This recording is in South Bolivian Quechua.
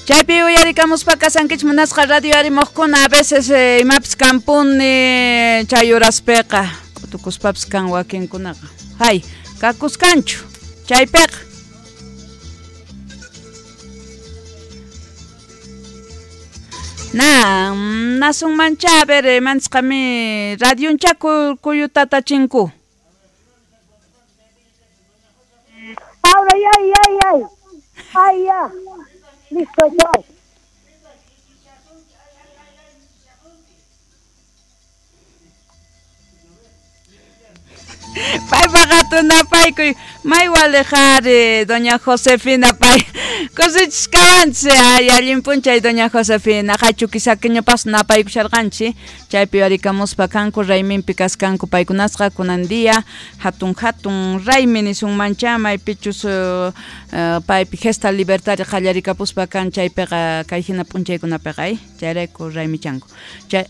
Chaypi uyarikamuspa kasankichik munasqa radio arimojkuna, a veces imapis kampuni chay horaspiqa k'utukuspapis kan wakinkunaqa. Hay, kakuskanchu chaypiqa. Na, nasunmancha, a ver, mansqami radioncha kuyutatachinku. Ahora, ay, ay, ay. Ay, ya. Listo, chao. Paypaqa tunapaykuy may walejari doña Josefina pay kusichishkawanchik ay allin p'unchay doña Josefina hachu kisakiñupas napaykusharqanchik chaypi yuyarikamuspa kanku rayminpi kaskanku paykunasqa kunan día hatun hatun raymi nisunmancha maypichus paypi gesta libertaria qallarikapuspa kan chaypiqa kay hina p'unchaykunapiqa ay chayrayku raymichanku chay.